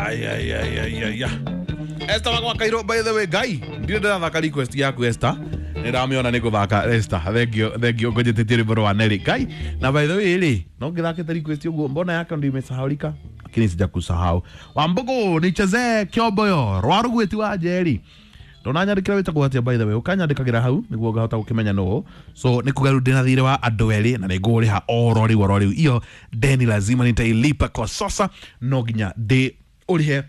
Ay, ay, ay, ay, ay, ay. Esther wakwa Kairo, by the way, Ngai, ndirĩ ndĩrathaka request yaku Esther. Nĩ ndamĩona nĩ gũthaka Esther. Thank you, thank you. Ngũnjĩtĩtie rwĩmbo rwa Nelly. Ngai, na by the way rĩ, no ngĩthakĩte request ũguo, mbona yako ndio imesahaulika? Lakini sijakusahau. Wambugu, nichezee Kiomboyo, rwa rũgwĩti wa Njeri. Ndũnanyandĩkĩra wĩtagwo atĩa, by the way, ũkanyandĩkagĩra hau nĩguo ngahota gũkĩmenya nũ. So nĩ kuga rĩu ndĩna thirĩ wa andũ erĩ na nĩ ngũrĩha oro rĩu oro rĩu. Iyo deni lazima nitailipa kwa sasa, no nginya ndĩ ũrĩhe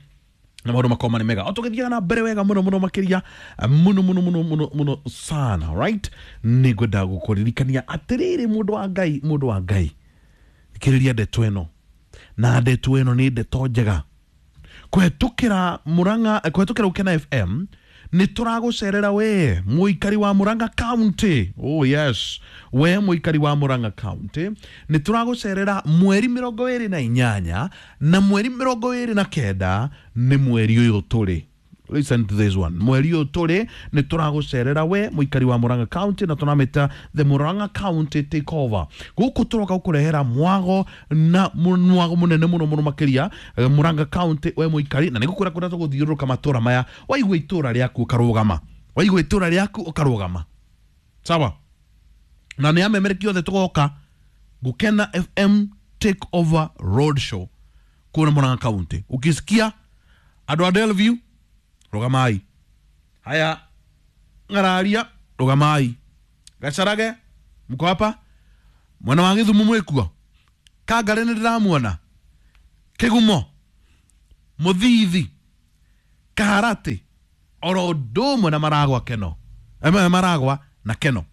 na maũndũ makorwo marĩ mega o tũgĩthiaga na mbere wega mũno mũno makĩria mũno mũno mũno mũno mũno sana. Right, nĩ ngwenda gũkũririkania atĩrĩrĩ, mũndũ wa Ngai, mũndũ wa Ngai, thikĩrĩria ndeto ĩno, na ndeto ĩno nĩ ndeto njega. Kũhetũkĩra Murang'a, kũhetũkĩra Gũkena FM, nĩ tũragũcerera we mũikari wa Murang'a County. Oh yes, we mũikari wa Murang'a County, nĩ tũragũcerera mweri 28 na mweri 29, nĩ mweri ũyũ tũrĩ. Listen to this one. Mweri ũyũ tũrĩ nĩ tũragũcerera we mũikari wa Murang'a County, na tũramĩta the Murang'a County Takeover. Gũkũ tũroka gũkũrehera mwago na mwago mũnene mũno mũno makĩria, Murang'a County, we mũikari, na nĩ gũkwĩra kũrĩa tũgũthiũrũrũka matũra maya. Waigua itũra rĩaku ũkarũgama, waigua itũra rĩaku ũkarũgama, sawa? Na nĩ amemereki othe tũgoka Gũkena FM Take Over Road Show kũrĩa Murang'a County. Ukisikia andũ a Delview, rũgamai. Haya, Ng'araria, rũgamai. Gacarage, mko hapa? Mwena wa Gĩthumo mwĩkuo? Kangare nĩ ndĩramuona. Kĩgumo, Mũthithi, Kaharatĩ, oro ũndũ ũmwe na Maragwa, Keno. Maragwa na Keno.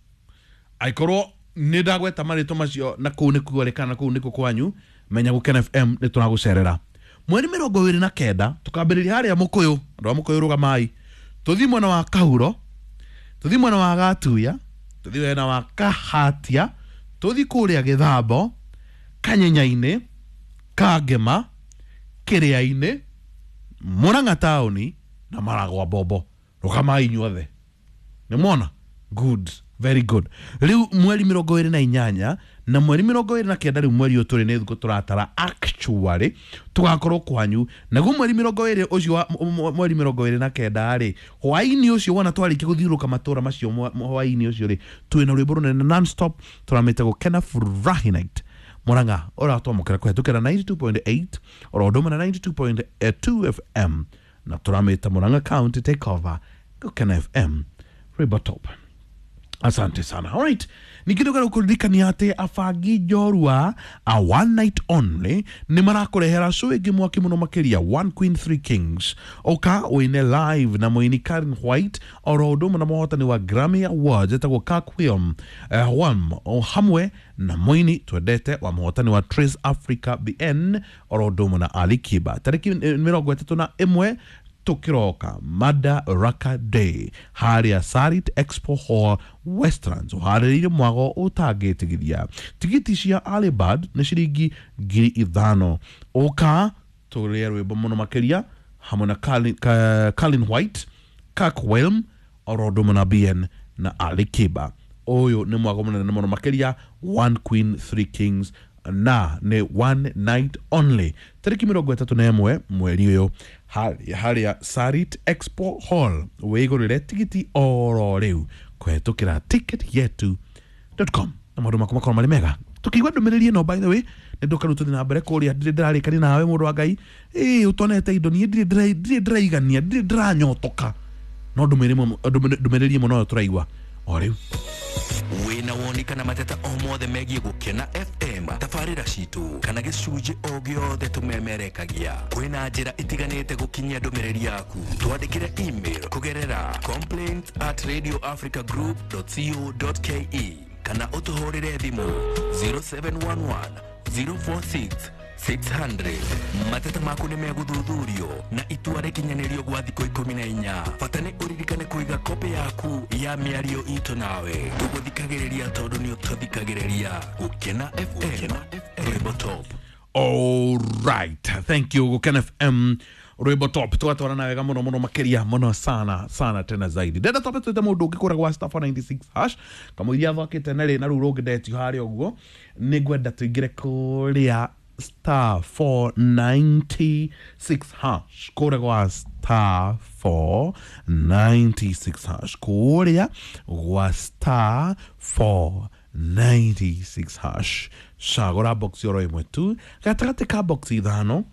Angĩkorwo nĩ ndagweta marĩtwa macio na kũu nĩkuo rĩ, kana kũu nĩkuo kwanyu, menya Gũkena FM nĩ tũragũcerera mweri 29. Tũkambĩrĩria harĩa Mũkũyũ. Andũ a Mũkũyũ, rũgamai. Tũthiĩ mwena wa Kahuro, tũthiĩ mwena wa Gatuya, tũthiĩ mwena wa Kahatia, tũthiĩ kũrĩa Gĩthambo, Kanyenya-inĩ, Kangema, Kĩrĩa-inĩ, Murang'a taũni na Maragwa Bombo. Rũgamai inyuothe, nĩ mwona? Good, very good. Rĩu mweri 28 na mweri 29, rĩu mweri ũyũ tũrĩ, nĩ thikũ tũratara actually tũgakorwo kwanyu. Naguo mweri 20 ũcio wa mweri 29 rĩ, hwaĩ-inĩ ũcio, wona twarĩkia gũthiũrũrũka matũra macio, hwaĩ-inĩ ũcio rĩ, twĩna rwĩmbo rũnene non-stop tũramĩte Gũkena Furahi Night Murang'a, ũratwamũkĩra kũhetũkĩra 92.8 oro ũndũ ũmwe na 92.2 FM, na tũramĩta Murang'a County Takeover, Gũkena FM, rwĩmbo top. Asante sana. Alright, ningĩ nĩ kũririkania atĩ abangi njorua a one night only nĩ marakũrehera show ĩngĩ mwaki mũno makĩria, One Queen Three Kings. Ũka ũine live na mũini Karen White oro ũndũ ũmwe na mũhotani wa Grammy Awards etagwo Kirk William Whalum, o hamwe na mũini twendete wa mũhotani wa Trace Africa BN oro ũndũ ũmwe na Ali Kiba. Tarĩki 31 tukiroka Madaraka Day harĩa Sarit Expo Hall, Westlands, ũharĩrĩire mwago ũtangĩtigithia. Tigiti cia early bird nĩ ciringi 5,000. Ũka tũrĩe rwĩmbo mũno makĩria hamwe na Colin White, Kirk Whalum oro ũndũ ũmwe na BN na Ali Kiba. Ũyũ nĩ mwago mũnene mũno makĩria, One Queen Three Kings, na nĩ one night only, tarĩki 31 mweri ũyũ harĩa Sarit Expo Hall. Wĩgũrĩre tigiti oro rĩu kũhetũkĩra ticketyetu.com na maũndũ maku makorwo marĩ mega. Tũkĩigua ndũmĩrĩri ĩno, by the way, nĩ ndũka rĩu tũthiĩ na mbere kũrĩa. Ndirĩ ndĩrarĩkania nawe, mũndũ wa Ngai, ĩĩ ũtonete indo. Niĩ ndirĩ ndĩraigania, ndirĩ ndĩranyotoka, no ndũmĩrĩri ĩmwe noyo tũraigua o rĩu. Wĩna woni kana mateta o mothe megiĩ Gũkena FM, tabarĩra citũ kana gĩcunjĩ o gĩothe tũmemerekagia, kwĩna njĩra itiganĩte gũkinyia ndũmĩrĩri yaku. Twandĩkĩre email kũgerera complaints@radioafricagroup.co.ke kana ũtũhũrĩre thimũ 0711 046 600. Mateta maku nĩ megũthuthurio na itua rĩkinyanĩrio gwa thikũ 14. Bata nĩ ũririkane kũiga kopĩ yaku ya mĩario itũ nawe. Tũgũthikagĩrĩria tondũ nĩ ũtũthikagĩrĩria. Gũkena FM, rwĩmbo top. Alright, thank you. Gũkena FM, rwĩmbo top. Tũgatwarana wega mũno mũno makĩria mũno sana sana tena zaidi. Ndenda twambe twĩte mũndũ ũngĩ kũrĩa gwa *496#, kamũiria athakĩte na rĩ na rũu rũngĩ ndetio harĩa ũguo. Nĩ ngwenda tũingĩre kũrĩa. star 496 hash, kũrĩa gwa star 496 hash, kũrĩa gwa star 496 hash, cagũra box oro ĩmwe tu gatagatĩ ka box ithano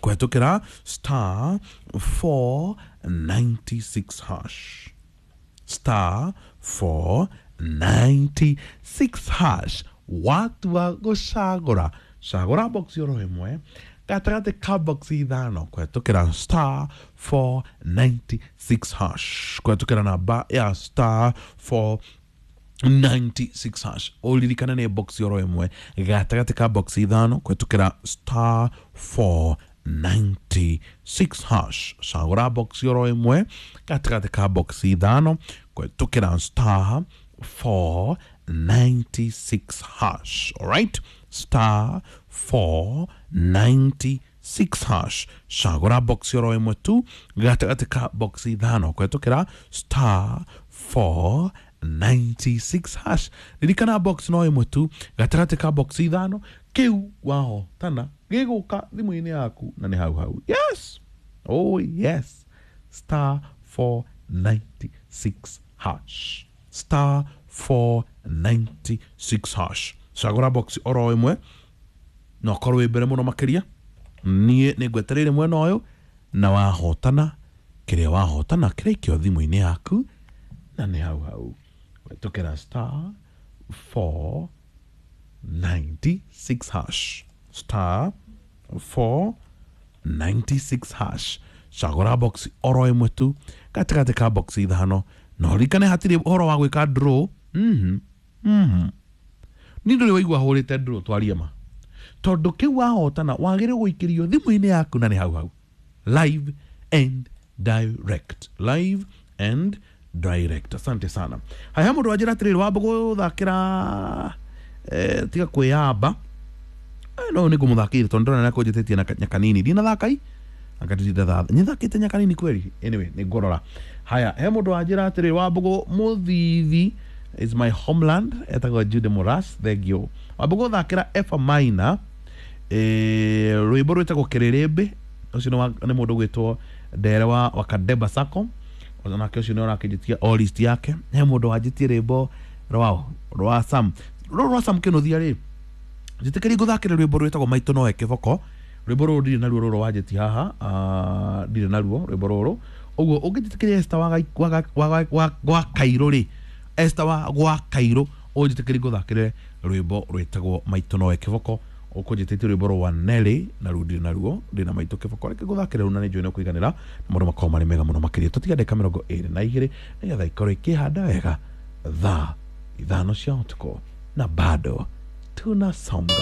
kũhetũkĩra star 496 hash, star 496 hash. Watua gũcagũra, cagũra box oro ĩmwe gatagatĩ ka box ithano kũhetũkĩra star 496 hash, kũhetũkĩra namba ya star 496 hash. Ũririkane nĩ box oro ĩmwe gatagatĩ ka box ithano kũhetũkĩra star 496 hash. Cagũra box oro ĩmwe gatagatĩ ka box ithano kũhetũkĩra star 496 hash. Alright, star 496 hash, cagũra box oro ĩmwe tu gatagatĩ ka box ithano kũhetũkĩra star 496 hash. Ririkana box no ĩmwe tu gatagatĩ ka box ithano, kĩu wahotana gĩgũka thimũ-inĩ yaku na nĩ hau hau. Yes, oh yes, star 496 hash, star 496 hash. Cagũra box oro ĩmwe na ũkorwo wĩ mbere mũno makĩria. Niĩ nĩ ngwetereire mwena ũyũ, na wahotana kĩrĩa wahotana kĩraikio thimũ-inĩ yaku na nĩ hau hau kũhetũkĩra star 496 hash, star 496 hash. Cagũra box oro ĩmwe tu gatagatĩ ka box ithano, na ũririkane hatirĩ ũhoro wa gwĩka draw. Ni ndũrĩ waigua hũrĩte draw, twarie ma, tondũ kĩu wahotana wagĩrĩirwo gũikĩrio thimũ-inĩ yaku na nĩ hau hau, live and direct, live and direct. Asante sana. Haya, mũndũ wanjĩra atĩrĩrĩ, wamba gũthakĩra tiga kwĩyamba. No nĩ ngũmũthakĩire tondũ ndĩrona nĩakũnjĩtĩtie na nyakanini ndinathaka i akatitha nyithakĩte nyakanini kweli. Anyway, nĩ ngũrora. Haya, he mũndũ wanjĩra atĩrĩrĩ, Wambũgũ Mũthithi is my homeland, etagwo Jude Moras, thank you. Wambũgũ thakĩra F minor, rwĩmbo rwĩtagwo Kĩrĩrĩmbĩ. Ũcio nĩ mũndũ ũgwĩtwo Ndere wa Kadeba Sacco, onake ũcio nĩ ũrakĩnjĩtia o list yake. He mũndũ wanjĩtie rwĩmbo rwao rwa Sam, rũrũ rwa Sam Kĩnuthia rĩ, njĩtĩkĩrie ngũthakĩre rwĩmbo rwĩtagwo Maitũ Noe Kĩboko. Rwĩmbo rũrũ ndirĩ naruo, rũrũ wanjĩtie haha, ndirĩ naruo rwĩmbo rũrũ. Ũguo ũngĩnjĩtĩkĩria Esther wa Kairũ rĩ, Esther wa gwa Kairũ, ũnjĩtĩkĩrie ngũthakĩre rwĩmbo rwĩtagwo Maitũ Noe Kĩboko. Ũkũnjĩtĩtie rwĩmbo rwa Nelly, na rũu ndirĩ naruo, ndĩ na Maitũ Kĩboko. Reke ngũthakĩre rũu na nĩ njũĩ nĩ ũkũiganĩra, na maũndũ makorwo marĩ mega mũno makĩria. Tũtiga ndagĩka 22 nĩgetha ikorwo ikĩhanda wega thaa 5 cia ũtukũ, na bado tunasonga.